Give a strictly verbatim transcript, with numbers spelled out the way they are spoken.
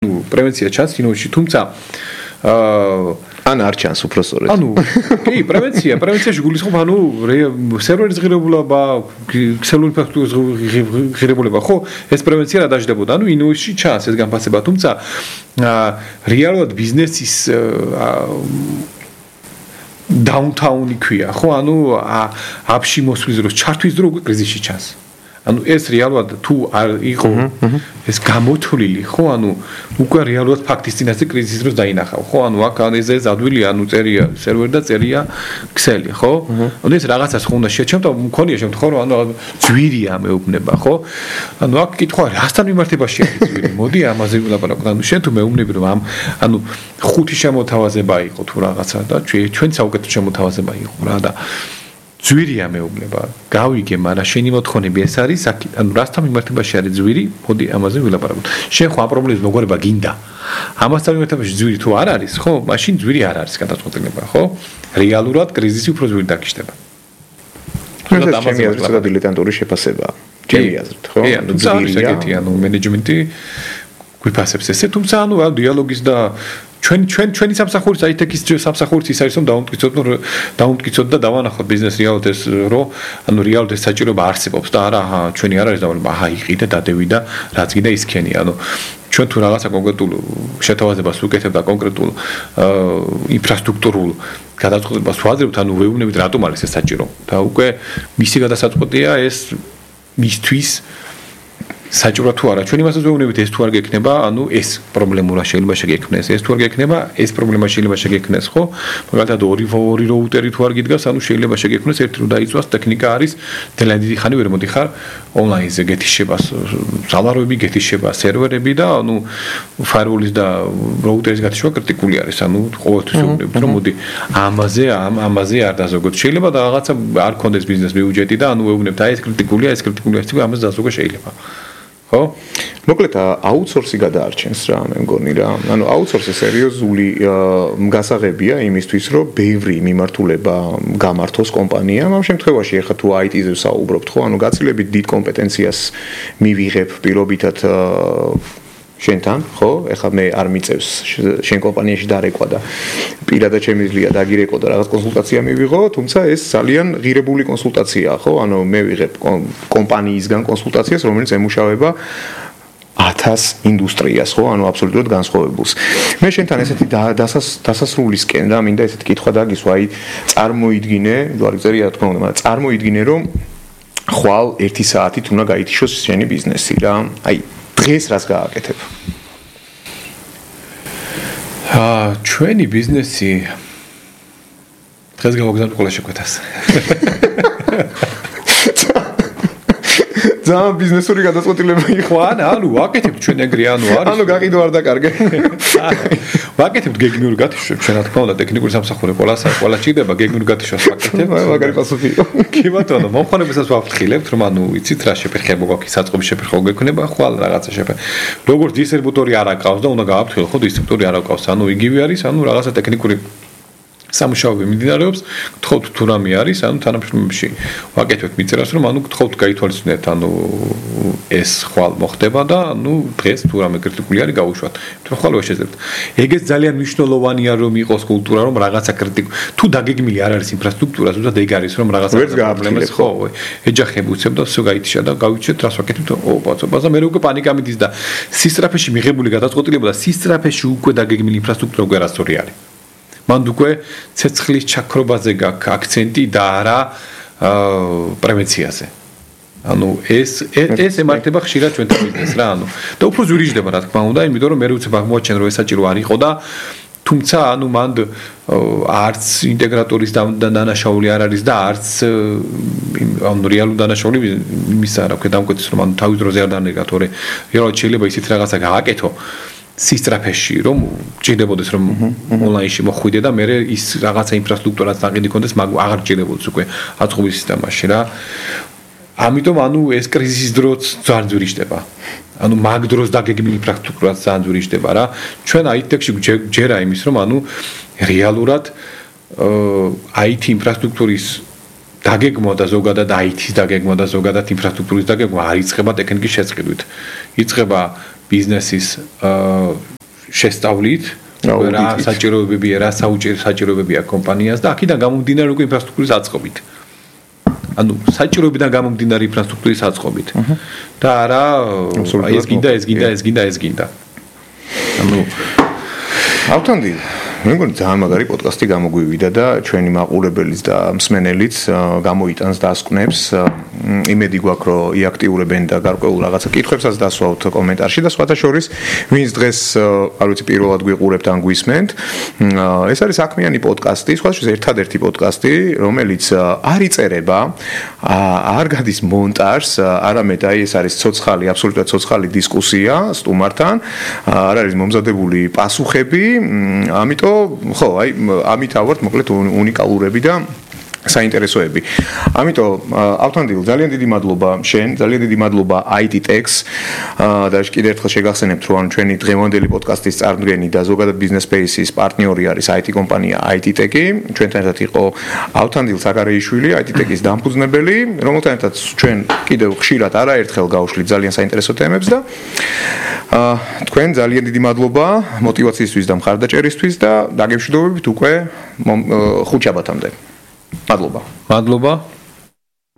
ну პრევენცია ჩანს კინოში, თუმცა ან არ ჩანს უფრო სწორედ. ანუ კი, პრევენცია, პრევენციაში გულისხმობ, ანუ სერვერის ღირებულება, ქსელური ფაქტურის ღირებულება, ხო, ეს პრევენცია რა დაждდებოდა. ანუ ინოვაციაში ჩანს ეს განფასება, თუმცა რეალურად ბიზნესის დაუნტაუნი ქვია, ხო, ანუ აფში მოსვლის დროს, ჩართვის დროს უკვე კრიზისში ჩანს. ანუ ეს რეალურად თუ არ იყო ეს გამოთვლილი, ხო, ანუ უკვე რეალურად ფაქტის წინაშე კრიზისის დროს დაინახავ, ხო, ანუ აქ ეს ადვილია, ანუ წერია სერვერი და წერია ქსელი, ხო? ანუ ეს რაღაცას ხო უნდა შეჩემ და მქონია შემთხვევა, რომ ანუ ძვირია მეუბნება, ხო? ანუ აქ კითხვა რასთან მიმართებაში არის ძვირი? მოდი ამაზე ვილაპარაკოთ. ანუ შენ თუ მეუბნები რომ ამ ანუ ხუთი შემოთავაზება იყო თუ რაღაცა და ჩვენ საუკეთესო შემოთავაზება იყო რა და ძვირია მეუბნება. გავიგე, მაგრამ შენი მოთხოვნები ეს არის, ანუ რასთან მიმართებაში არის ძვირი? მოდი ამაზე ვილაპარაკოთ. შენ ხო ამ პრობლემის მოგვარება გინდა. ამასთან მიმართებაში ძვირი თუ არ არის, ხო? მაშინ ძვირი არ არის გადაწყვეტილება, ხო? რეალურად კრიზისი უფრო ძვირი დაგჭდება. ეს ჩემი აზრით საერთოდ დილეტანტური შეფასებაა. ჩემი აზრით, ხო? კი, ანუ ძვირია, ანუ მენეჯმენტი გვიფასებს ესე, თუმცა ანუ დიალოგის და ჩვენ ჩვენ ჩვენი სამსახურის აითექის სამსახურიც ის არის რომ დაუმტკიცოთ დაუმტკიცოთ და დავანახოთ ბიზნეს რეალურად ეს რომ ანუ რეალურად ეს საჭიროება არსებობს და არა აჰა ჩვენი არ არის დავალება აჰა იყიდა დადევი და რაც გინდა ისქენი ანუ ჩვენ თუ რაღაცა კონკრეტულ შეთავაზებას ვუკეთებ და კონკრეტულ ინფრასტრუქტურულ გადაწყვეტილებას ვაძლევთ ანუ ვეუბნებით რატომ არის ეს საჭირო და უკვე მისი გადასაწყვეტია ეს მისთვის საჭირო თუ არა ჩვენ იმასაც ვეუბნებით ეს თუ არ გექნება ანუ ეს პრობლემურა შეიძლება შეგექმნეს ეს თუ არ გექნება ეს პრობლემა შეიძლება შეგექმნეს ხო მაგალითად ორი ორი რაუტერი თუ არ გიდგას ანუ შეიძლება შეგექმნეს ერთი რომ დაიწვას ტექნიკა არის ძალიან დიდი ხანი ვერ მოდიხარ ონლაინზე გეთიშება სალაროები გეთიშება სერვერები და ანუ ფაირვოლის და რაუტერის გათიშვა კრიტიკული არის ანუ ყოველთვის ვეუბნებით რომ მოდი ამაზე ამაზე არ დაზოგოთ შეიძლება და რაღაცა არ კონდეს ბიზნეს ბიუჯეტი და ანუ ვეუბნებთ აი ეს კრიტიკულია ეს კრიტიკულია ეს ამაზე დაზოგვა შეიძლება ხო? მოკლედ აუთსორსი გადაარჩენს რა მე მგონი რა. ანუ აუთსორსი სერიოზული გასაღებია იმისთვის, რომ ბევრი მიმართულება გამართოს კომპანიამ. ამ შემთხვევაში ახლა თუ აი ტი-ზე საუბრობთ, ხო? ანუ გაცილებით დიდ კომპეტენციას მივიღებ პირობითად შენთან, ხო? ეხლა მე არ მიწევს შენ კომპანიაში დარეკვა და პირადად შემიძლია დაგირეკო და რაღაც კონსულტაცია მივიღო, თუმცა ეს ძალიან ღირებული კონსულტაციაა, ხო? ანუ მე ვიღებ კომპანიისგან კონსულტაციას, რომელიც ემუშავება ათას ინდუსტრიას, ხო? ანუ აბსოლუტურად განსხვავებულს. მე შენთან ესეთი დასასრულისკენ რა მინდა ესეთი კითხვა დაგისვა, აი წარმოიდგინე, თუ არ გწერია რა თქმა უნდა, მაგრამ წარმოიდგინე რომ ხვალ ერთი საათით უნდა გაითიშოს შენი ბიზნესი რა. აი დღეს რას გააკეთებ? აა ჩვენი ბიზნესი დღეს გავაგზავნე ყველა შეკვეთას. ძალიან ბიზნესური გადაწყვეტილება იყო. ანუ ანუ ვაკეთებ ჩვენ ეგრე ანუ არის. ანუ გაყიდო არ დაკარგე. ვაკეთებ გეგმიურ გათიშვებს, ჩვენ რა თქმა უნდა ტექნიკური სამსახური ყველას ყველა ჭირდება გეგმიურ გათიშვას ვაკეთებ. მაგარი პასუხი იყო. კი ბატონო, მომხმარებელსაც ვაფრთხილებთ, რომ ანუ იცით რა შეფერხება გვაქვს, საწყობის შეფერხება გექნება, ხვალ რაღაცა შეფერხება. როგორც დისტრიბუტორი არ აკავს და უნდა გააფრთხილო, ხო დისტრიბუტორი არ აკავს, ანუ იგივე არის, ანუ რაღაცა ტექნიკური სამუშაოები მიმდინარეობს, გთხოვთ თუ რამე არის, ანუ თანამშრომლებში ვაკეთებთ მიწერას, რომ ანუ გთხოვთ გაითვალისწინეთ, ანუ ეს ხვალ მოხდება და ანუ დღეს თუ რამე კრიტიკული არის გაუშვათ. თუ ხვალ ვერ შეძლებთ. ეგეც ძალიან მნიშვნელოვანია რომ იყოს კულტურა, რომ რაღაცა კრიტიკული თუ დაგეგმილი არ არის ინფრასტრუქტურა, თუმცა ეგ არის რომ რაღაცა პრობლემას ხო, ეჯახები უცებ და всё გაითიშა და გავიჩეთ რას ვაკეთებთ, ო ბაცობა და მე უკვე პანიკა მიდის და სისწრაფეში მიღებული გადაწყვეტილება და სისწრაფეში უკვე დაგეგმილი ინფრასტრუქტურა უკვე არასწორი არის. მანდ უკვე ცეცხლის ჩაქრობაზე გაქვს აქცენტი და არა პრევენციაზე. ანუ ეს ეს ემართება ხშირად ჩვენთან ბიზნესს რა, ანუ და უფრო ზვირიჯდება რა თქმა უნდა, იმიტომ რომ მე უცებ აღმოაჩენ რომ ეს საჭირო არ იყო და თუმცა ანუ მანდ არც ინტეგრატორის დანაშაული არ არის და არც ანუ რეალური დანაშაული იმის არ აქვს დამკვეთის რომ ანუ თავის დროზე არ დანერგა თორე რეალურად შეიძლება ისეთ რაღაცა გააკეთო სისტრაფეში რომ ჭირდებოდეს რომ ონლაინში მოხვიდე და მე ის რაღაცა ინფრასტრუქტურაც დაყიდი კონდეს მაგ აღარ ჭირდებოდეს უკვე აწყობის სისტემაში რა ამიტომ ანუ ეს კრიზისის დროს ძალიან ძვირიჯდება ანუ მაგ დროს დაგეგმილი ინფრასტრუქტურაც ძალიან ძვირიჯდება რა ჩვენ აი ტექში ჯერა იმის რომ ანუ რეალურად აი ტი ინფრასტრუქტურის დაგეგმვა და ზოგადად აი ტის დაგეგმვა და ზოგადად ინფრასტრუქტურის დაგეგმვა არ იწყება ტექნიკის შეწყდით იწყება ბიზნესის შესწავლით რა საჭიროებებია, რა საუჭირო საჭიროებებია კომპანიას და აქედან გამომდინარე უკვე ინფრასტრუქტურის აწყობით. ანუ საჭიროებიდან გამომდინარე ინფრასტრუქტურის აწყობით. და არა აი ეს გინდა, ეს გინდა, ეს გინდა, ეს გინდა. ანუ ავთანდი მე მგონი ძალიან მაგარი პოდკასტი გამოგვივიდა და ჩვენი მაყურებელიც და მსმენელიც გამოიტანს და ასკვნებს. იმედი გვაქვს რომ იაქტიურებენ და გარკვეულ რაღაცა კითხვებსაც დასვავთ კომენტარში და სხვათა შორის ვინც დღეს არ ვიცი პირველად გვიყურებთ ან გვისმენთ ეს არის საქმიანი პოდკასტი სხვათა შორის ერთადერთი პოდკასტი რომელიც არ იწერება არ გადის მონტაჟს არამედ აი ეს არის ცოცხალი აბსოლუტურად ცოცხალი დისკუსია სტუმართან არ არის მომზადებული პასუხები ამიტომ ხო აი ამით ავართ მოკლედ უნიკალურები და საინტერესოები. ამიტომ ავთანდილ ძალიან დიდი მადლობა შენ, ძალიან დიდი მადლობა აი ტი Techs და კიდევ ერთხელ შეგახსენებთ რომ ჩვენი დღევანდელი პოდკასტის წარმდგენი და ზოგადად Business Space-ის პარტნიორი არის აი ტი კომპანია აი ტი Tech-ი. ჩვენთან ერთად იყო ავთანდილ საკარეიშვილი, აი ტი Tech-ის დამფუძნებელი, რომელთან ერთად ჩვენ კიდევ ხშირად არაერთხელ გავშლით ძალიან საინტერესო თემებს და თქვენ ძალიან დიდი მადლობა мотиваციისთვის და მხარდაჭერისთვის და დაგემშვიდობებით უკვე ხუთშაბათამდე. Madloba. Madloba.